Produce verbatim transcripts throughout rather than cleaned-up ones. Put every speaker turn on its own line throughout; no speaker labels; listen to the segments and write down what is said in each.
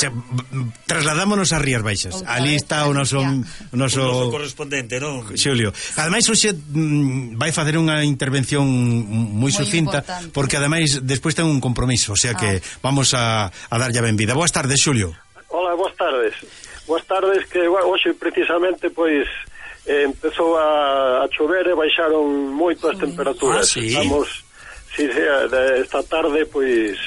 xa, trasladámonos a Rías Baixas. Outra ali está o noso, o noso...
o noso correspondente, non?
Xulio. Ademais, hoxe mm, vai facer unha intervención moi sucinta, porque ademais despois ten un compromiso, o sea que ah. vamos a, a darlle a benvida. Boas tardes, Xulio.
Hola, boas tardes. Boas tardes, que hoxe precisamente, pois, eh, empezou a, a chover e baixaron moito as temperaturas.
Ah, sí?
Estamos, si sea, de esta tarde, pois...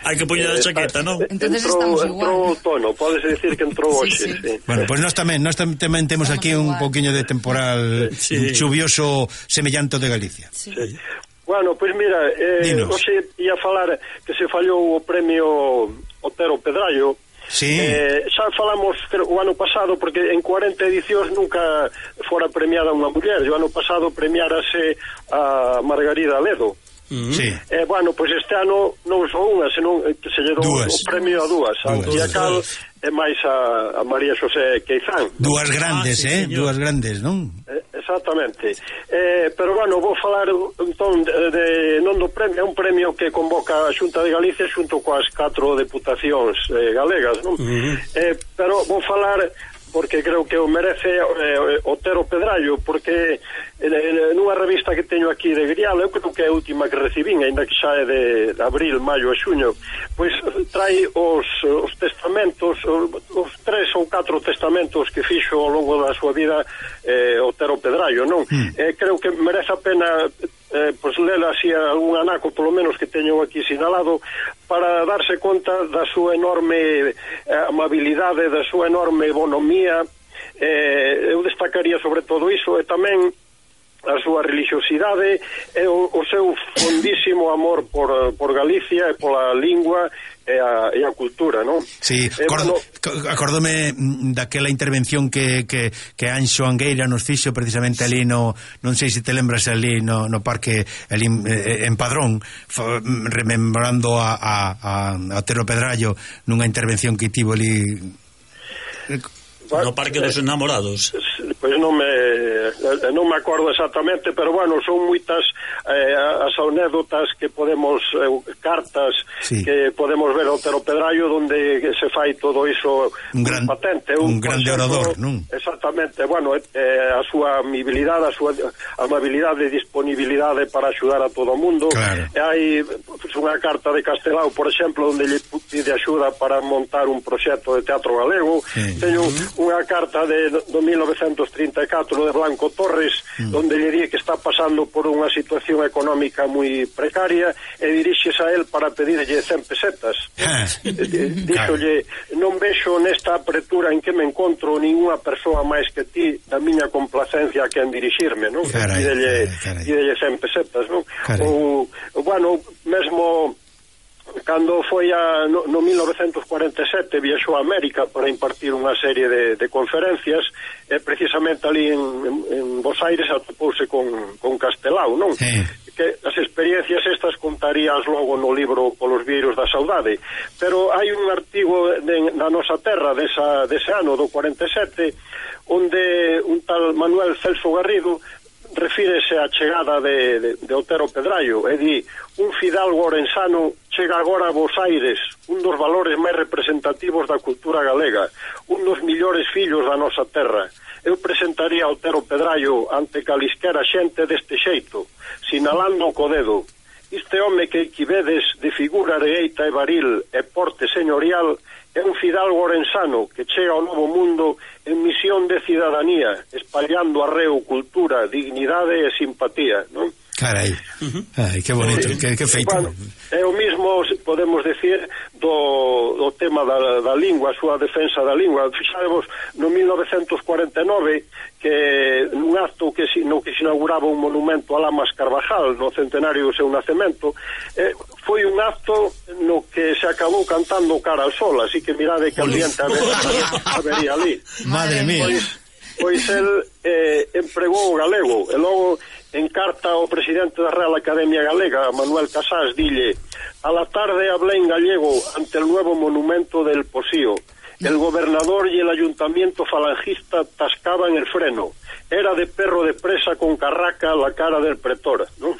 Hai que poñer a chaqueta, non?
Entonces
entrou,
estamos igual.
Entrou outono, podes decir que entrou hoxe.
Sí, sí.
Sí.
Bueno, pois pues nós tamén, nós tamén temos aquí un poquinho de temporal sí. chuvioso semellante de Galicia.
Sí. Sí. Bueno, pois pues mira, eh, hoxe ia falar que se fallou o premio Otero Pedrallo.
Sí.
Eh, xa falamos creo, o ano pasado, porque en cuarenta edicións nunca fora premiada unha muller. O ano pasado premiárase a Margarida Ledo.
Uh-huh. Sí.
Eh, bueno, pois pues este ano non só unha, senón que se lle dou o premio a dúas, a Antiacal e máis a, a María Xosé Queizán.
Dúas grandes, ah, sí, eh? Señor. Dúas grandes, non?
Eh, exactamente. Eh, pero bueno, vou falar entón de, de non do premio, é un premio que convoca a Xunta de Galicia xunto coas catro deputacións eh, galegas, non? Uh-huh. Eh, pero vou falar porque creo que o merece eh, Otero Pedrallo, porque eh, nunha revista que teño aquí de Grial, eu creo que é a última que recibín, ainda que xa é de, de abril, maio e xuño, pois trai os, os testamentos, os, os tres ou catro testamentos que fixo ao longo da súa vida eh, Otero Pedrallo, non? Mm. Eh, creo que merece a pena eh, pois lela así algún anaco, polo menos que teño aquí sinalado, para darse conta da súa enorme eh, amabilidade, da súa enorme bonomía. Eh, eu destacaría sobre todo iso, e tamén a súa religiosidade e o, o seu fondísimo amor por, por Galicia e pola lingua e a, e a cultura, non?
Sí,
eh,
acordo,
bueno,
acórdome daquela intervención que, que, que Anxo Angueira nos fixo precisamente ali no, non sei se te lembras ali no, no parque ali, eh, en Padrón, fa, rememorando a, a, a Otero Pedrallo nunha intervención que tivo ali
no Parque dos Enamorados.
Pois non me non me acordo exactamente, pero bueno, son moitas eh, as anécdotas que podemos eh, cartas sí. que podemos ver ao Otero Pedrallo onde se fai todo iso
un gran
patente,
un, un grande orador, non?
Exactamente, bueno, eh, a súa amabilidade, a súa amabilidade e disponibilidade para axudar a todo o mundo.
Claro.
E hai pues, unha carta de Castelao, por exemplo, onde lle pide axuda para montar un proxecto de teatro galego. Sí. Teño unha carta de do mil novecentos trinta e catro de Blanco Torres, mm. onde lle di que está pasando por unha situación económica moi precaria e dirixes a él para pedirlle cen pesetas.
Ah.
Díxolle, non vexo nesta apertura en que me encontro ninguna persoa máis que ti da miña complacencia que en dirixirme, non? Pídelle, pídelle cen pesetas, non? Ou, bueno, mesmo cando foi a, no, no mil novecentos cuarenta e sete viaxou a América para impartir unha serie de, de conferencias e precisamente ali en, en, en Bos Aires atopouse con, con Castelao, non? Sí. Que as experiencias estas contarías logo no libro Polos Vieiros da Saudade, pero hai un artigo de, na nosa terra desa, dese ano do cuarenta e sete onde un tal Manuel Celso Garrido refírese á chegada de, de, de Otero Pedrallo e di: un fidalgo orensano chega agora a Bos Aires, un dos valores máis representativos da cultura galega, un dos millores fillos da nosa terra. Eu presentaría a Otero Pedrallo ante calisquera xente deste xeito, sinalando co dedo: este home que aquí vedes de figura areeita e varil e porte señorial é un fidalgo orensano que chega ao novo mundo en misión de cidadanía, espallando arreo, cultura, dignidade e simpatía, non?
Carai, uh-huh. Ai, que bonito, sí. que, que feito.
Bueno, é o mismo, podemos decir, do, do tema da, da lingua, a súa defensa da lingua. Fixadevos, no mil novecentos cuarenta e nove, que nun acto que si, no que se inauguraba un monumento a Lamas Carvajal, no centenario do seu nacemento, eh, foi un acto no que se acabou cantando Cara al Sol, así que mirade que ambiente habería ali.
Madre mía.
Pois, pois el eh, empregou o galego, e logo en carta ao presidente da Real Academia Galega, Manuel Casás, dille: a la tarde hablé en gallego ante el nuevo monumento del Posío. El gobernador y el ayuntamiento falangista tascaban el freno. Era de perro de presa con carraca la cara del pretor, non?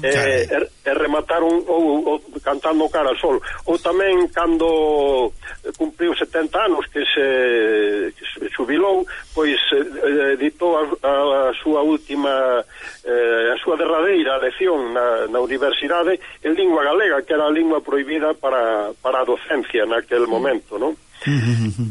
Eh, e, e remataron ou, ou cantando cara al sol. Ou tamén cando cumpriu setenta anos que se, que se xubilou, pois eh, editou a, a, a súa última eh, a súa derradeira lección na, na universidade en lingua galega, que era a lingua prohibida para, para a docencia naquel momento, non?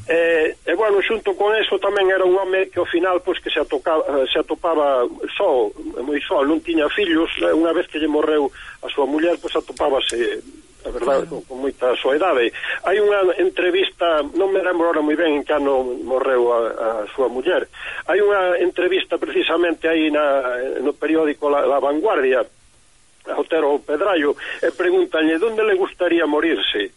e, e bueno, xunto con eso tamén era un home que ao final pois que se atopaba, se atopaba só, moi só, non tiña fillos. Unha vez que lle morreu a súa muller, pois atopábase, a verdade, con, con moita soedade. Hai unha entrevista, non me lembro ahora moi ben en que ano morreu a, a súa muller. Hai unha entrevista precisamente aí na, no periódico La, La Vanguardia a Otero Pedrallo, e pregúntanlle onde le gustaría morirse.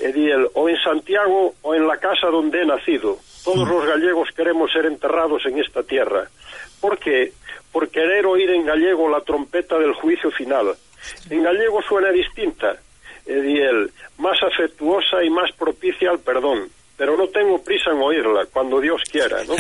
E di el, o en Santiago o en la casa donde he nacido. Todos los gallegos queremos ser enterrados en esta tierra. ¿Por qué? Por querer oír en gallego la trompeta del juicio final. En gallego suena distinta, e di el, más afectuosa y más propicia al perdón. Pero no tengo prisa en oírla, cuando Dios quiera, ¿no?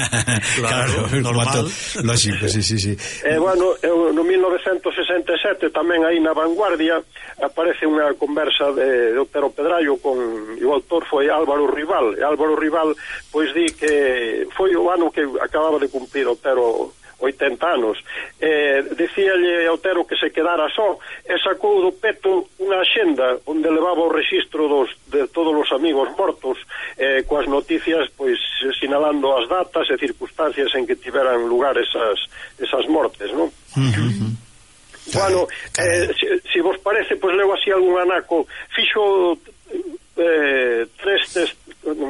Claro, normal.
Lógico, sí, sí, sí.
Eh, bueno, eu, no mil novecientos sesenta e sete tamén aí na Vanguardia aparece unha conversa de, de Otero Pedrallo con o autor foi Álvaro Rival. E Álvaro Rival pois di que foi o ano que acababa de cumprir Otero oitenta anos. Eh, decíalle a Otero que se quedara só e sacou do peto unha axenda onde levaba o rexistro dos, de todos os amigos mortos, eh, coas noticias pois sinalando as datas e circunstancias en que tiveran lugar esas, esas mortes, non?
Uh-huh.
Bueno, eh, si, si vos parece, pois leo así algún anaco. Fixo eh, tres test,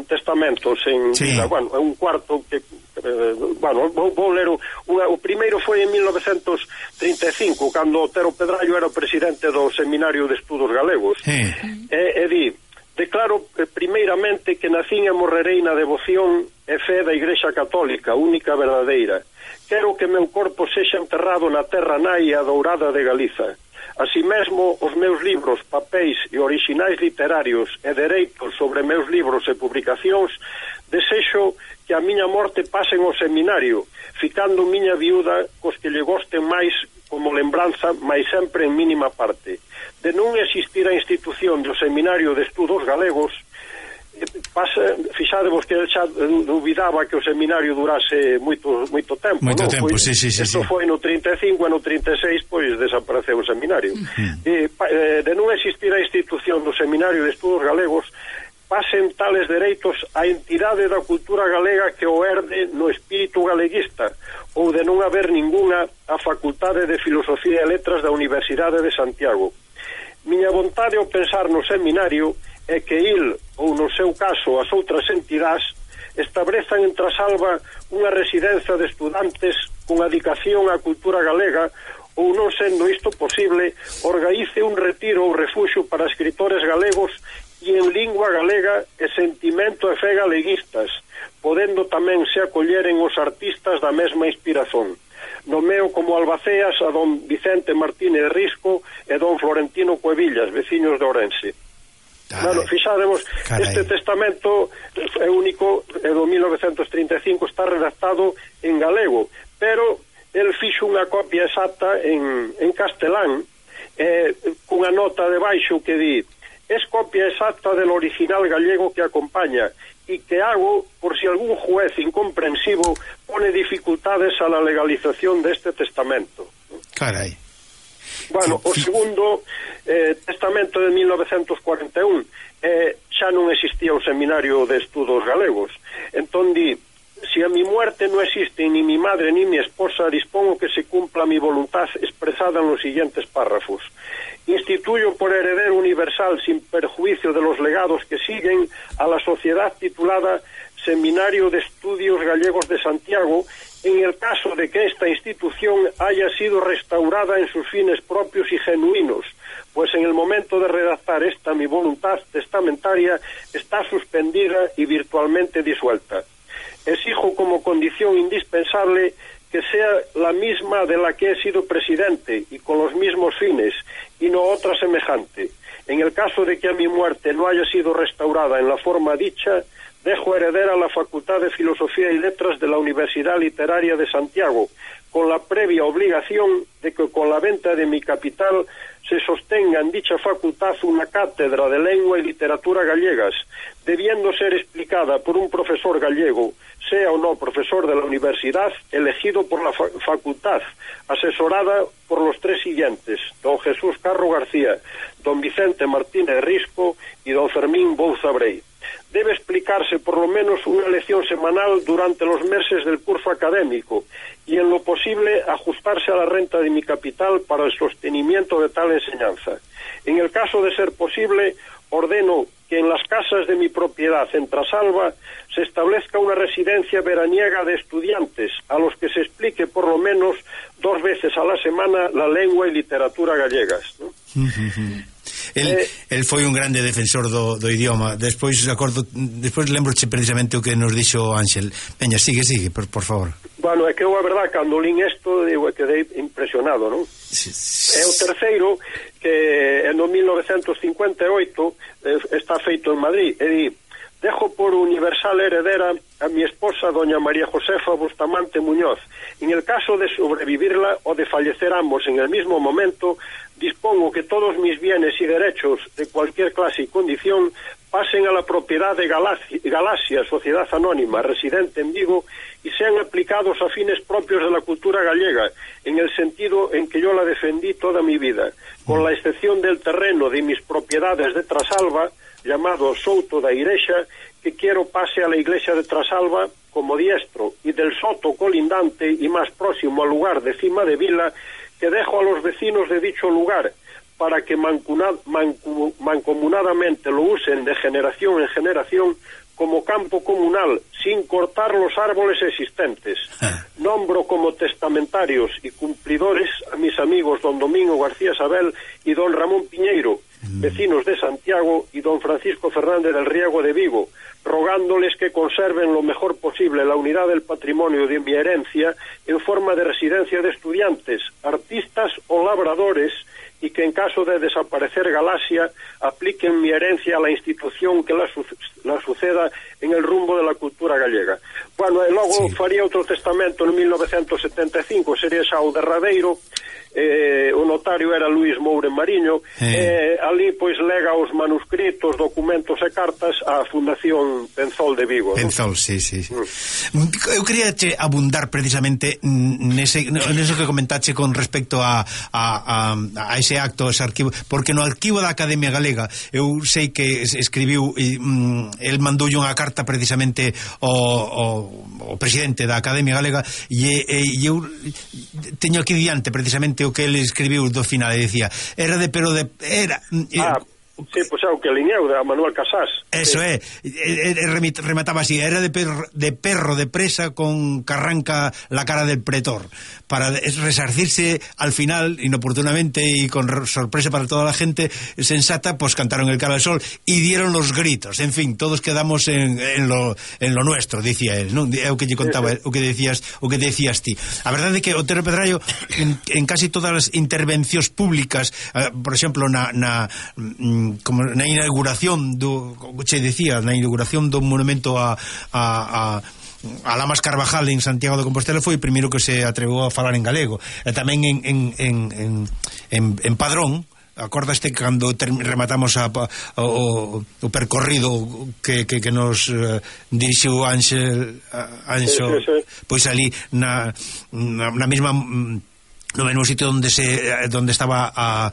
testamentos en,
sí.
na, bueno, un cuarto que eh, bueno, vou, vou ler unha, o primeiro foi en mil novecientos trinta e cinco, cando Otero Pedrallo era o presidente do Seminario de Estudos Galegos.
Sí.
E, e di: declaro eh, primeiramente que nacín e morrerei na devoción e fe da Igrexa Católica, única verdadeira. Quero que meu corpo sexa enterrado na terra naia dourada de Galiza. Así mesmo, os meus libros, papéis e orixinais literarios e dereitos sobre meus libros e publicacións, desexo que a miña morte pasen ao seminario, ficando miña viúda cos que lle gosten máis como lembranza, máis sempre en mínima parte. De non existir a institución do Seminario de Estudos Galegos, pasa, fixadevos que xa dubidaba que o seminario durase moito moito tempo,
moito
non?
tempo,
Foi,
sí, sí, sí,
isto
sí.
foi no trinta e cinco e no trinta e seis pois desapareceu o seminario.
Uh-huh.
E, de non existir a institución do Seminario de Estudos Galegos, pasen tales dereitos á entidade da cultura galega que o herde no espírito galeguista, ou de non haber ninguna a Facultade de Filosofía e Letras da Universidade de Santiago. Miña vontade ao pensar no seminario é que il, ou no seu caso as outras entidades, establezan en Trasalba unha residencia de estudantes con dedicación á cultura galega, ou non sendo isto posible, organice un retiro ou refuxio para escritores galegos e en lingua galega e sentimento e fe galeguistas, podendo tamén se acolleren os artistas da mesma inspiración. Nomeo como albaceas a don Vicente Martínez Risco e don Florentino Cuevillas, veciños de Ourense. Bueno, fixademos, este testamento é único, é do mil novecientos trinta e cinco, está redactado en galego, pero el fixo unha copia exacta en, en castelán, eh, cunha nota de baixo que di: es copia exacta del original gallego que acompaña y que hago por si algún juez incomprensivo pone dificultades a la legalización de este testamento.
Carai.
Bueno, o segundo eh, testamento de mil novecientos cuarenta e un, eh, xa non existía o Seminario de Estudos Galegos. Entón di: si a mi muerte no existe ni mi madre ni mi esposa, dispongo que se cumpla mi voluntad expresada en los siguientes párrafos. Instituyo por heredero universal, sin perjuicio de los legados que siguen, a la sociedad titulada Seminario de Estudios Gallegos de Santiago, en el caso de que esta institución haya sido restaurada en sus fines propios y genuinos, pues en el momento de redactar esta mi voluntad testamentaria está suspendida y virtualmente disuelta. Exijo como condición indispensable que sea la misma de la que he sido presidente y con los mismos fines, y no otra semejante. En el caso de que a mi muerte no haya sido restaurada en la forma dicha, dejo heredar a la Facultad de Filosofía y Letras de la Universidad Literaria de Santiago, con la previa obligación de que con la venta de mi capital se sostenga en dicha facultad una cátedra de lengua y literatura gallegas, debiendo ser explicada por un profesor gallego, sea o no profesor de la universidad, elegido por la fa facultad, asesorada por los tres siguientes: don Jesús Carro García, don Vicente Martínez Risco y don Fermín Bouza Brey. Debe explicarse por lo menos una lección semanal durante los meses del curso académico y en lo posible ajustarse a la renta de mi capital para el sostenimiento de tal enseñanza. En el caso de ser posible, ordeno que en las casas de mi propiedad en Trasalba se establezca una residencia veraniega de estudiantes a los que se explique por lo menos dos veces a la semana la lengua y literatura gallegas, ¿no?
El, eh, el foi un grande defensor do, do idioma. Despois acordo, despois lembroche precisamente o que nos dixo Ángel. Veña, sigue, sigue, por, por favor.
Bueno, é que eu a verdad, cando lín isto, digo, quedei impresionado, non? Sí, sí. É o terceiro, que en mil novecentos cincuenta e oito eh, está feito en Madrid, e di: dejo por universal heredera a mi esposa doña María Josefa Bustamante Muñoz. En el caso de sobrevivirla o de fallecer ambos en el mismo momento, dispongo que todos mis bienes y derechos de cualquier clase y condición pasen a la propiedad de Galaxia, Galaxia, Sociedad Anónima, residente en Vigo, y sean aplicados a fines propios de la cultura gallega, en el sentido en que yo la defendí toda mi vida, con la excepción del terreno de mis propiedades de Trasalba, llamado Souto da Irexa, que quiero pase a la iglesia de Trasalba como diestro, y del soto colindante y más próximo al lugar de Cima de Vila, que dejo a los vecinos de dicho lugar, para que mancuna, mancu, mancomunadamente lo usen de generación en generación como campo comunal, sin cortar los árboles existentes. Nombro como testamentarios y cumplidores a mis amigos don Domingo García Sabel y don Ramón Piñeiro, vecinos de Santiago, y don Francisco Fernández del Riego de Vigo, rogándoles que conserven lo mejor posible la unidad del patrimonio de mi herencia en forma de residencia de estudiantes, artistas o labradores, y que en caso de desaparecer Galaxia apliquen mi herencia a la institución que la, su la suceda en el rumbo de la cultura gallega. Bueno, e logo sí. faría outro testamento en mil novecentos setenta e cinco, sería xa o derradeiro. Eh, o notario era Luís Moure Mariño, eh. Eh, ali pois lega os manuscritos, documentos e cartas á Fundación Penzol de Vigo.
Penzol, ¿no? sí, sí, sí. Mm. Eu quería che abundar precisamente nese, neso que comentache con respecto a, a, a, a ese acto, ese arquivo, porque no arquivo da Academia Galega eu sei que escribiu e, mm, el mandoulle unha carta precisamente ao, ao, ao presidente da Academia Galega e, e eu teño aquí diante precisamente o que ele escribiu do final e decía, era de pero de era
ah, sí, pois é o que liñeu de Manuel Casás.
Eso é, é, é remataba así, era de perro, de perro de presa con que arranca la cara del pretor, para resarcirse al final inoportunamente y con sorpresa para toda la gente sensata, pues cantaron el cara al sol y dieron los gritos. En fin, todos quedamos en, en lo en lo nuestro, dicía él, ¿no? É o que lle contaba, o que decías, o que decías ti. A verdade é que Otero Pedrallo en, en casi todas as intervencións públicas, eh, por exemplo, na na como na inauguración do, che decía, na inauguración do monumento a a, a a Lamas Carvajal en Santiago de Compostela foi o primeiro que se atreveu a falar en galego, e tamén en en en en, en, en Padrón. Acordaste cando rematamos a, a, o, o percorrido que, que, que nos uh, dirixiu Ángel Anxo, sí, sí, sí. Pois ali na, na, na mesma no mesmo sitio onde se donde estaba a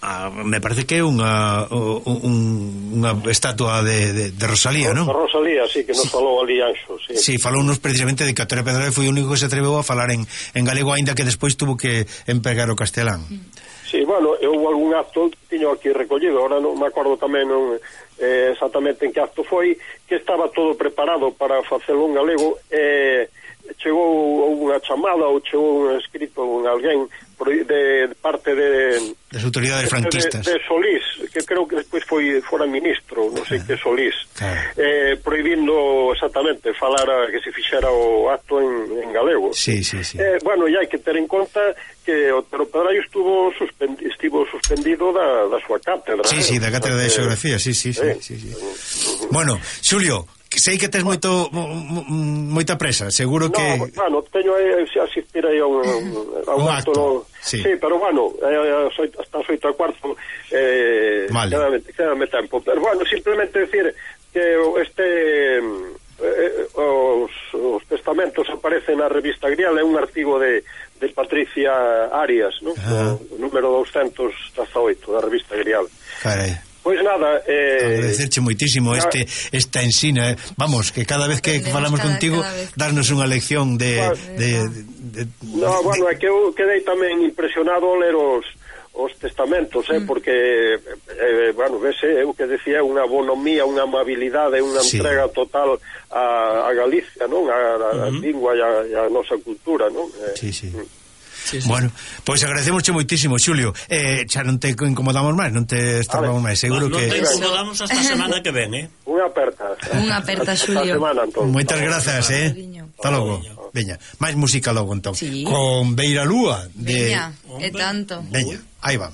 Ah, me parece que é unha un, unha estatua de, de, de Rosalía, non?
De Rosalía, sí, que nos sí. falou ali Anxo, sí.
Sí, falounos precisamente de que Otero Pedrallo foi o único que se atreveu a falar en, en galego, aínda que despois tuvo que empregar o castelán.
Sí, bueno, eu algún acto tiño aquí recollido, ahora non me acordo tamén non, eh, exactamente en que acto foi, que estaba todo preparado para facelo en galego, e eh, chegou unha chamada ou chegou un escrito en alguén de parte de
das autoridades franquistas
de, de Solís, que creo que despois foi fora ministro, non sei que Solís,
claro.
eh, prohibindo exactamente falar a, que se fixera o acto en, en galego.
Sí, sí, sí.
Eh, bueno, e hai que ter en conta que Otero Pedraio estuvo suspendido, estivo suspendido da, da súa cátedra.
Sí,
eh?
sí, da cátedra de xeografía, sí, sí, sí, sí, sí. Bueno, Xulio, sei que tes moito moita presa, seguro que...
No, bueno, teño aí, se asistir aí a un, a un,
un
acto,
acto
no,
sí.
sí, pero bueno, eh, hasta as oito e cuarto eh,
vale.
quédame, quédame tempo, pero bueno, simplemente decir que este eh, os, os testamentos aparecen na revista Grial, é un artigo de, de Patricia Arias, ¿no?
Ah.
O número doscientos dezaoito da revista Grial.
Carai.
Pois nada, eh,
agradecerche moitísimo este esta ensina, eh. Vamos, que cada vez que falamos cada, contigo cada darnos unha lección de, bueno, de, de, de
no, bueno, é que eu quedei tamén impresionado ao ler os os testamentos, eh, mm. porque eh, bueno, vese, eu que decía unha bonomía, unha amabilidade, unha sí. entrega total a, a Galicia, non? A, a, a mm-hmm. lingua e a, a nosa cultura, non? Eh,
sí, sí.
Mm.
Sí, sí. Bueno, pois pues agradecemosche moitísimo, Xulio. Eh, xa non te incomodamos máis, non te estorbamos máis, seguro
no,
que...
Non te incomodamos hasta a semana que ven, eh?
Unha aperta.
Unha aperta, Xulio.
Semana,
moitas grazas, eh? Hasta logo. Veña, máis música logo, entón. Sí. Con Beira Lúa.
De... Veña, e tanto.
Veña, aí van.